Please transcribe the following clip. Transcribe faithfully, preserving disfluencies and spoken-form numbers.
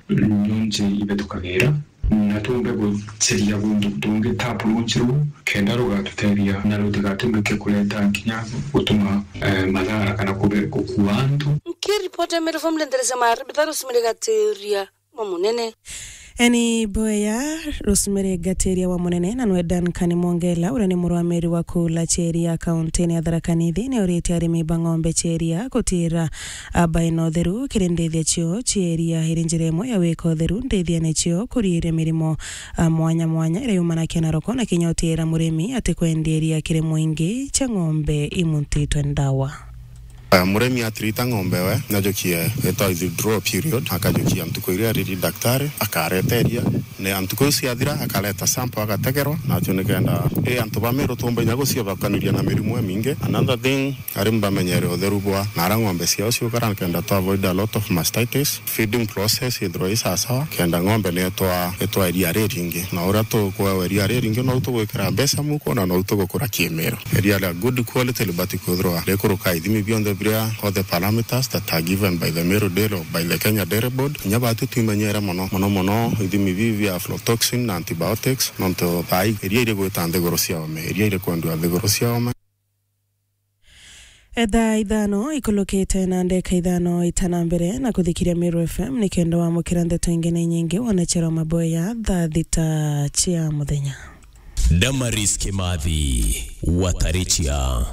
nonje ibethukagira, na tumbe guciria guntu tungi ta approach ruu, kenda rugatutethia na rutigatwike kureta kinya gutuma, eh, mathara kana kube-, gukua antu. Nkiripoti ya Meru Family, nderese Maribitha Rosemary Gatiria wa Munene. Eni Boya, Rosemary Gatiria wa Munene, na nwe Duncan Mwongela, uria ni murwamiri wa kula cia iria kaunti-ini ya Tharaka Nithi, ni uritie arimi ba ng'ombe cia iria gutira, a, baina utheru kiri ndithia cio cia iria. Iri njira imwe ya wika utheru ndithiane cio kuriiria mirimo, a, mwanya mwanya iria yumanakia na roko, na kinya utira murimi ati kwendia iria kiri mwingi cia ng'ombe imuntitwe ndawa. Eh, murimi atirita ng'ombe we, najukie itwa withdraw period, akajukia ntuku iria ariri daktari, akareta iria. Ne ntuku iu ciathira, akareta sample agategerwa, nacio nikenda, eh, antu ba Meru tumba inya guciobakaniria na mirimu imingi. Another thing, arimi bamenyere utheru bwa nara ng'ombe ciao ciukara, nikenda to avoid a lot of mastitis. Feeding process ithirwa i sawasawa, kenda ng'ombe ni itwa, itwa iria riringi. Na uria tukwewa iria riringi, nou tugwikira mbeca muko, na nou tugukura kimiru. Iria ria good quality libati kwithirwa rikuruka ithimi bionthe biria, all the parameters that are given by the Meru Dairy or by the Kenya Dairy Board. Kinya batu twimenyere mono, mono mono ithimi bibi bia aflatoxin na antibiotics, nontu thaa ii iria irigwita nthiguru cia ome, iria irikwendua nthiguru cia ome. Etha ithano ikulukite na ndeka ithano itana mbere na kuthikiria Meru F M, nikenda wamukira ndeto ingi na inyingi, wone Chero Maboya thaa thita cia muthenya. Damaris Kimathi, Watarichia.